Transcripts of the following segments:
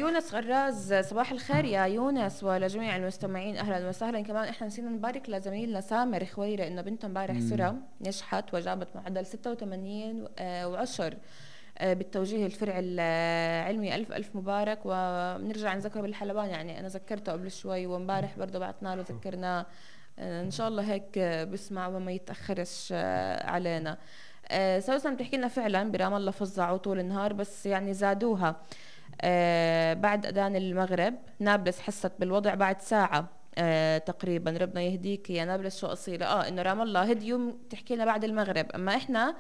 يونس غراز، صباح الخير يا يونس ولجميع المستمعين، اهلا وسهلا. كمان احنا نسينا نبارك لزميلنا سامر خويرة انه بنته امبارح سرى نجحت وجابت معدل 86 و10 بالتوجيه الفرعي العلمي. ألف مبارك. وبنرجع نذكره بالحلبان، يعني أنا ذكرته قبل شوي ومبارح برضه بعتنا له ذكرناه. إن شاء الله هيك بسمع وما يتأخرش علينا. سوسن بتحكي لنا فعلا برام الله فظعوا طول النهار، بس يعني زادوها بعد أذان المغرب. نابلس حست بالوضع بعد ساعة تقريبا. ربنا يهديك يا نابلس، شو أصيلة إنه رام الله هديوا تحكي لنا بعد المغرب، أما إحنا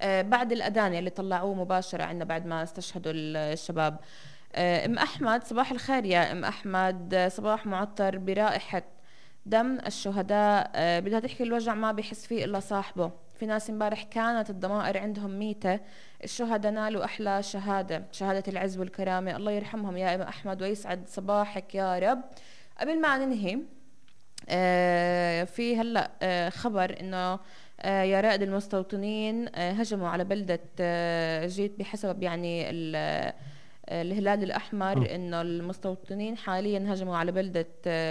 بعد الأذان اللي طلعوه مباشرة عنا بعد ما استشهدوا الشباب. أم أحمد، صباح الخير يا أم أحمد. صباح معطر برائحة دم الشهداء. بدها تحكي الوجع ما بيحس فيه إلا صاحبه. في ناس امبارح كانت الضمائر عندهم ميتة. الشهداء نالوا أحلى شهادة العز والكرامة. الله يرحمهم يا أم أحمد ويسعد صباحك يا رب. قبل ما ننهي في هلأ خبر إنه يا رائد المستوطنين هجموا على بلدة جيت بحسب يعني الهلال الأحمر، إنه المستوطنين حاليا هجموا على بلدة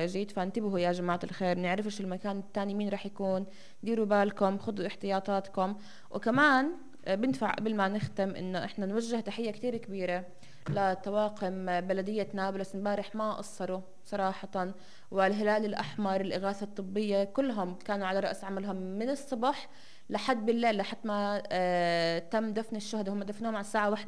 جيت. فانتبهوا يا جماعة الخير، نعرفش المكان الثاني مين رح يكون، ديروا بالكم، خذوا احتياطاتكم. وكمان بندفع قبل ما نختم إنه إحنا نوجه تحية كتير كبيرة لطواقم بلدية نابلس. امبارح ما قصروا صراحة، والهلال الأحمر، الإغاثة الطبية، كلهم كانوا على رأس عملهم من الصبح لحد بالليل، لحد ما تم دفن الشهداء. هم دفنوهم على الساعة 1